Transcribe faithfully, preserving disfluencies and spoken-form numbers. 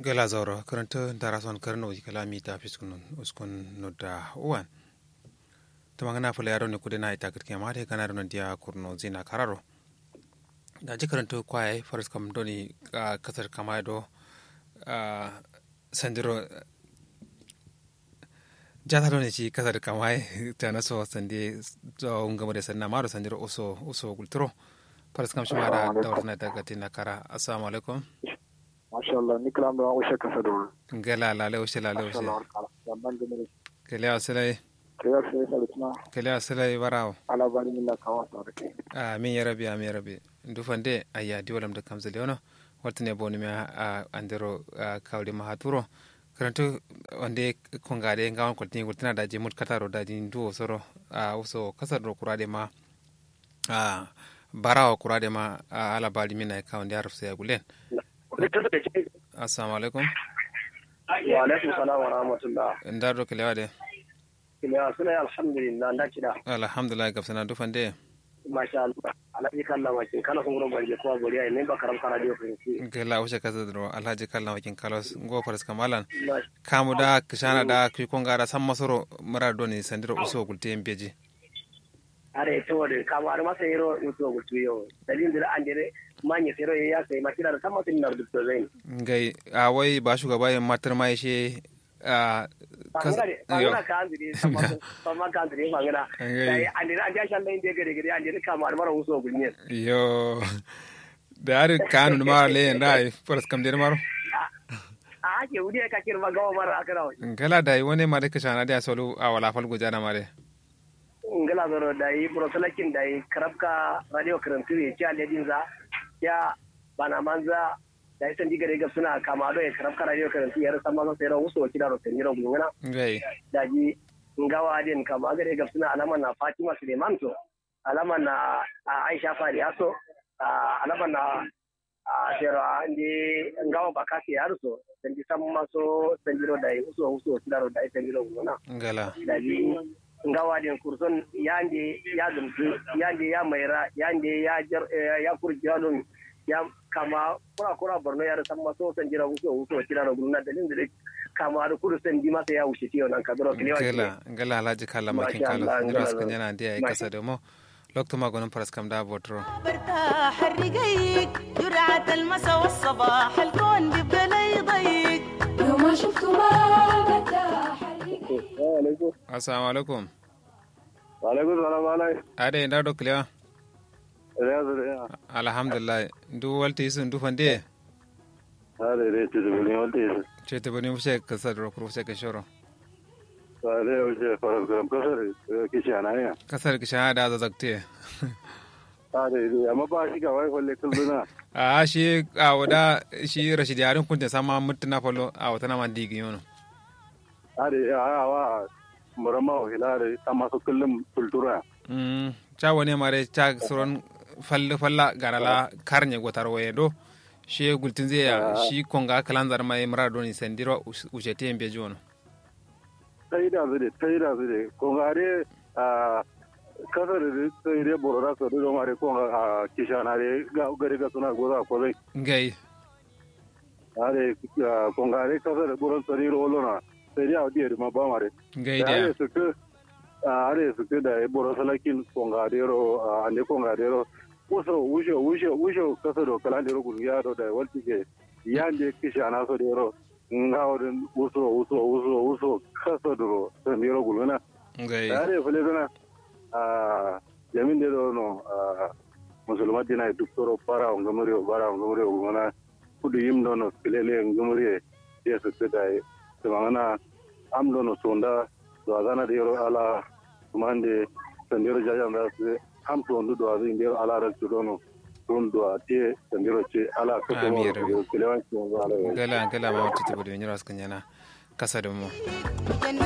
Gela zauro kǝrǝntǝ ndara son kǝrǝno kǝla mita fiskun uskun nudda uwan. Tǝma ngǝna fǝla yaro ne kude na ita kǝtkema de gana dono diya kurno zina kararo. Daji kǝrǝntǝ kwaye faraskam doni kasar kamaye do. Sandiro jata doni shi kasar kamaye tana so sande. Ngamare sanna maro sandiro uso uso gulturo. Faraskam shima da dawar tana daga tina kara. Assalamu alaikum. Mashallah ni kǝla mdo an ushe kasa do. Ngela lale ushe lale ushe. Kele asilai. Kele asilai barawo. Ala bari min na kawa sa da kai. Amin ya rabi amin ya rabi. Ndu fande ayya diwalam da kamzali wono. Waltǝne bonu miya andero kawri mahaturo. Kǝrǝntǝ wande kongade ngawon koltini gultǝna daji mut kataro daji nduwo soro. Uso kasar do kurade ma. Barawo kurade ma. Ala bari min na kawon da ya rufsa ya gulen. Assalamu alaikum. Wa alaikum salam wa rahmatullah. Nda do kelewa de. Kelewa suna alhamdulillah nda kida. Alhamdulillah gabsana dufan de. Masha Allah. Alhaji kalla makin kala sun guro banje kowa boriya ne ba karam kara diyo fahimci. Gela wuce kasa duro alhaji kalla makin kalos ngo faras kamalan. Kamu da kishana da kuyi kongara san masoro mura doni sandiro uso gulte mbeji. Are to de kamu are masa yero uso gultu yo dalin dira andere manye sero ya sai makira da san masin nar dukto zain. Ngai a wai ba shugaba ya matar ma ishe. Fangana de fangana ka andiri samma ka andiri fangana. Dai andiri andiri ashan dai inde gade gade andiri kama admara uso gulnyen. Yo. Da ari kanu ma le yen dai faras kam der maro. A ake wudi ka kir ma gawa mara akara wai. Ngala dai wone ma de kashana de asolu awala fal gujana ma de. Ngala zoro dai bro salakin dai karabka radio karantu ye cha ledinza ya bana manza. Dayi sandi gade gabsǝna kama do ye karab kara yo karanti yero samma so sero wuso kidaro sandiro gulngǝna. Daji ngawo adin kama gade gabsǝna alama na fatima suleiman so alama na aisha fariya so alama na sero ande ngawo bakasi yaro so sandi samma so sandiro dayi wuso wuso kidaro dayi sandiro gulngǝna. Ngala. Daji ngawo adin kurson yande ya gǝmsǝ yande ya maira yande ya kur jadon. Ya kama kura kura borno yare samma so sandiro wuso wuso kidaro gulngǝna dalil dǝ kama adǝ kudu sandi masa ya wushitiyo nan kaduro kǝlewa. Ngala ngala alhaji kalla makin kalla sandiro askǝnjana ande yayi kasa domo. Loktu ma gonum faras kam da botoro. Barta harrigayik jur'at almasa wassabah alkon bibda la yudayik. Yoma shuftu ma barta harrigayik. Assalamu alaikum. Wa alaikum salam alai. Ade nda do kǝlewa. Alhamdulillah. Ndu walti isu ndu fande. Ade de ceteboni walti isu. Ceteboni muse kasar ro kuru muse kashoro. Ade muse faras kam kasar kishana ya. Kasar kishana da zazakte. Ade de amma ba shi ga wai falle kulluna. A shi a wada shi rashidi yarin kunte sama mutuna fallo a wata na man digi yono. Ade a wa murama wa hilare amma su kullum kultura. Ca wane mare ca suron falla falla garala karnye gotar waye do. Shi gultin zai ya shi konga kalan zar mai mura doni sandiro. Ushete mbeji wono. Tai da zai tai da zai konga de. A kasar de sai de borora so do mare konga a kishana de gari ga suna goza ko zai. Ngai. Are kongare kasar buron sari rolo na. Sai dai awo diye duma ba mare. Ngai diya. Are suku are suku da boro salakin kongare ro ande kongare ro. Uso usho usho usho kasar do kalan dero gulgiya do da walti ke. Yande kishana so dero. Ngawo din uso uso uso uso kasar duro sandiro gulgana. Ngai. Are fule zana. Jamin dero no. Musulma dina duk soro bara ngumuriyo bara ngumuriyo gulgana. Kudu yim dono kilele ngumuriye. Yesu kidai. Tumangana am dono sonda. Duwazana dero ala. Tumande sandero jajan da su am sondu duwazu indero ala raktu dono. Sun duwa te sandero ce ala. Kudu kilewan. Gala gala ma wata tibu da minyiro askanyana. Kasa da mu.